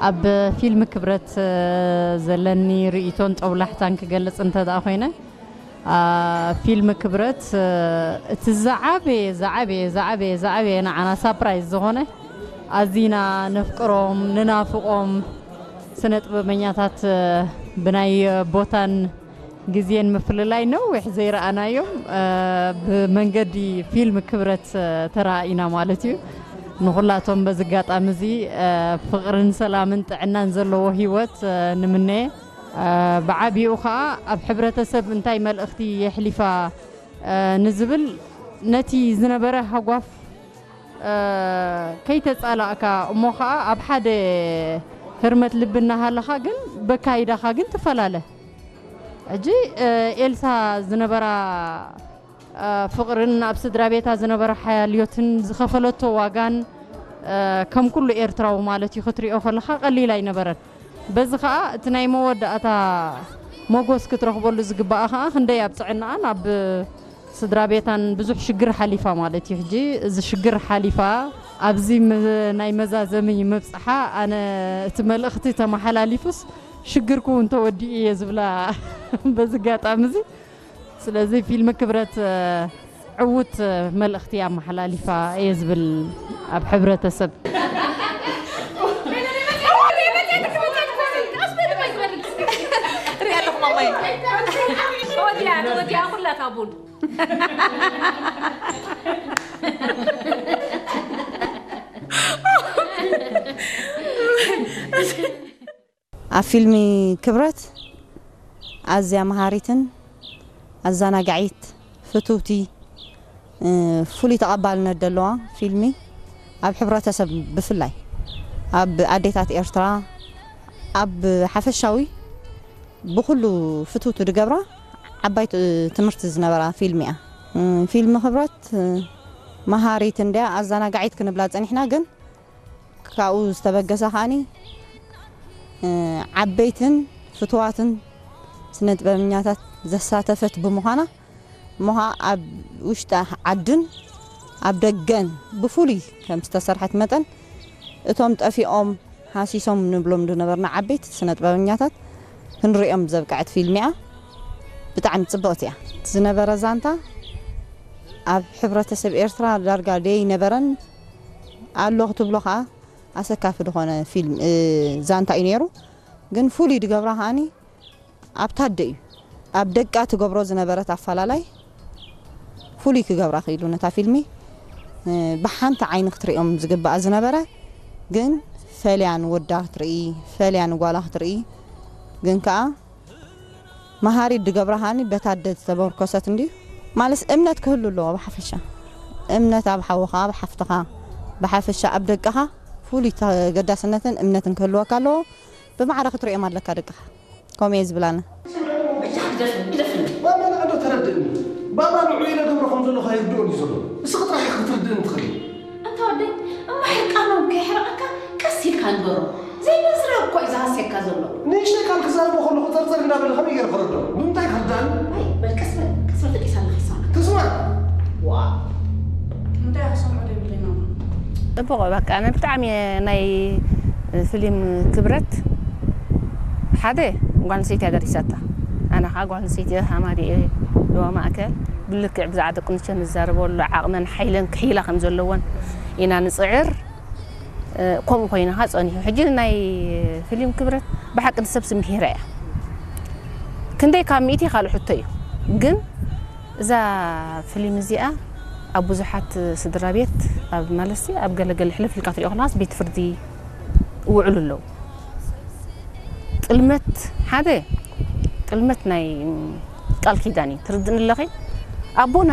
ኣብ ፊልም ክብረት ዘለኒ ርእይቶን ጦብላሕታን ክገልጽ እንተ ደኣ ኮይነ፣ ፊልም ክብረት እቲ ዝዓበየ ዝዓበየ ዝዓበየ ዝዓበየ ንዓና ሳፕራይዝ ዝኾነ፣ ኣዚና ነፍቅሮም ንናፍቖም ስነ ጥበበኛታት ብናይ ቦታን ግዜን ምፍልላይ ነዊሕ ዘይረኣናዮም ብመንገዲ ፊልም ክብረት ተራኢና ማለት እዩ። ንኹላቶም በዚ ኣጋጣሚ እዚ ፍቕርን ሰላምን ጥዕናን ዘለዎ ህይወት ንምነየ። ብዓቢኡ ኸኣ ኣብ ሕብረተሰብ እንታይ መልእኽቲ የሕሊፋ ንዝብል፣ ነቲ ዝነበረ ሃጓፍ ከይተጻላእካ እሞ ኸኣ ኣብ ሓደ ህርመት ልቢ እናሃለኻ ግን በካይዳኻ ግን ትፈላለ። ሕጂ ኤልሳ ዝነበራ ፍቕርን ኣብ ስድራ ቤታ ዝነበረ ሓልዮትን ዝኸፈለቶ ዋጋን ከም ኩሉ ኤርትራዊ ማለት እዩ ክትሪኦ ከለኻ ቀሊል ኣይነበረን። በዚ ኸኣ እቲ ናይ መወዳእታ ሞጎስ ክትረኽበሉ ዝግባኣ ኸኣ ክንደይ ኣብ ጥዕናኣን ኣብ ስድራ ቤታን ብዙሕ ሽግር ሓሊፋ ማለት እዩ። ሕጂ እዚ ሽግር ሓሊፋ ኣብዚ መ- ናይ መዛዘሚ ምብጽሓ ኣነ እቲ መልእኽቲ ተመሓላሊፉስ ሽግርኩ እውን ተወዲኡ እየ ዝብላ በዚ ኣጋጣሚ እዚ። ስለዚ ፊልም ክብረት ዕዉት መልእኽቲ ኣመሓላሊፋ እየ ዝብል ኣብ ሕብረተሰብ። ሪኣ ኣለኹ ማማይ። ተወዲኣ ተወዲኣ ኩላ እታ ቡን። ኣብ ፊልሚ ክብረት ኣዝያ መሃሪትን ኣዘናጋዒት ፍትውቲ ፍሉይ ተቐባልነት ዘለዋ ፊልሚ ኣብ ሕብረተሰብ ብፍላይ ኣብ ኣዴታት ኤርትራ ኣብ ሓፈሻዊ ብኹሉ ፍትውቲ ድገብራ ዓባይ ትምህርቲ ዝነበራ ፊልሚ እያ። ፊልሚ ክብረት መሃሪት እንድያ ኣዘናጋዒት ክንብላ ጸኒሕና ግን ካብኡ ዝተበገሰ ከኣኒ ዓበይትን ፍትዋትን ስነ ጥበበኛታት ዘሳተፈት ብምዃና እሞ ኸዓ ኣብ ውሽጢ ዓድን ኣብ ደገን ብፍሉይ ከም ዝተሰርሐት መጠን እቶም ጠፊኦም ሃሲሶም ንብሎም ዝነበርና ዓበይቲ ስነ ጥበበኛታት ክንሪኦም ዘብቅዐት ፊልም እያ። ብጣዕሚ ፅብቕቲ እያ። ዝነበረ ዛንታ ኣብ ሕብረተሰብ ኤርትራ ዳርጋ ደይነበረን ኣሎ ክትብሎ ከዓ ኣሰካፊ ዝኾነ ፊልም ዛንታ እዩ ነይሩ። ግን ፍሉይ ድገብራ ከዓኒ ኣብታ ኣደ እዩ። ኣብ ደቃ ትገብሮ ዝነበረት ኣፈላላይ ፍሉይ ክገብራ ክኢሉ ነታ ፊልሚ ብሓንቲ ዓይኒ ክትርእዮም ዝግብኣ ዝነበረ ግን ፈልያ ንወዳ ክትርኢ ፈልያ ንጓላ ክትርኢ ግን ከዓ መሃሪት ድገብራ ከዓኒ በታ ኣደ ዝተመርኮሰት እንድዩ። ማለስ እምነት ክህሉ ኣለዎ ብሓፈሻ። እምነት ኣብ ሓውኻ፣ ኣብ ሓፍትኻ፣ ብሓፈሻ ኣብ ደቅኻ ፍሉይ ተገዳስነትን እምነትን ክህልወካ ኣለዎ። ብማዕረ ክትርእዮም ኣለካ ደቅኻ። ከምኡ እየ ዝብል ኣነ። ማማ ንዓ ዶ ተረድእኒ። ባባ ንዑ ኢለ ገብሮ ከም ዘለኹ ኣይርድኦን እዩ ዘሎ። እስኺ ጥራሕ ኢኺ ክትርድእኒ ትኽእሊ። ኣንታ ወደይ እሞ ሕርቃኖም ከየሕርቐካ ቀስ ኢልካ ንገሮም። ዘይምዝራብ እኮ እዩ ዝሃስየካ ዘሎ። ንእሽተይ ቃል ክዛረቦ ከለኹ ጸርጸር እንዳበለ ከመይ ገይረ ክርድኦ? ብምንታይ ክርድኣኒ? ኣይ በል ቀስ በል ቀስ በል ተቂሳ ኣለኺ ይስማዕ። ትስማዕ? ዋእ። እንታይ እያ ክሰምዖ ዘይብለይ ማማ? ጽቡቕ በቃ ኣነ ብጣዕሚ እየ ናይ ፍሊም ክብረት ሓደ ጓል ኣንስተይቲ እያ ደሪሳታ ኣነ ኸዓ ጓል ኣንስተይቲ እየ ሃማሪ እየ ዶባ ማእከል ብልክዕ ብዛዕባ ደቂ ኣንስትዮ ንዛረበሉ ዓቕመን ሓይለን ክሕይላ ከም ዘለወን ኢና ንጽዕር። ከምኡ ኮይኑ ከዓ ፀኒሑ ሕጂ ናይ ፍሊም ክብረት ብሓቂ ንሰብሲ ምሂራ እያ ክንደይ ካብ ሚእቲ ካልእ ሕቶ እዩ ግን እዛ ፍሊም እዚኣ ኣብ ብዙሓት ስድራ ቤት ኣብ ማለትሲ ኣብ ገለገለ ሕልፍ ኢልካ ትሪኦ ከለኻስ ቤት ፍርዲ ይውዕሉ ኣለዉ ጥልመት ሓደ ጥልመት ናይ ቃል ኪዳን እዩ ትርድእኒ ኣለኺ ኣቦና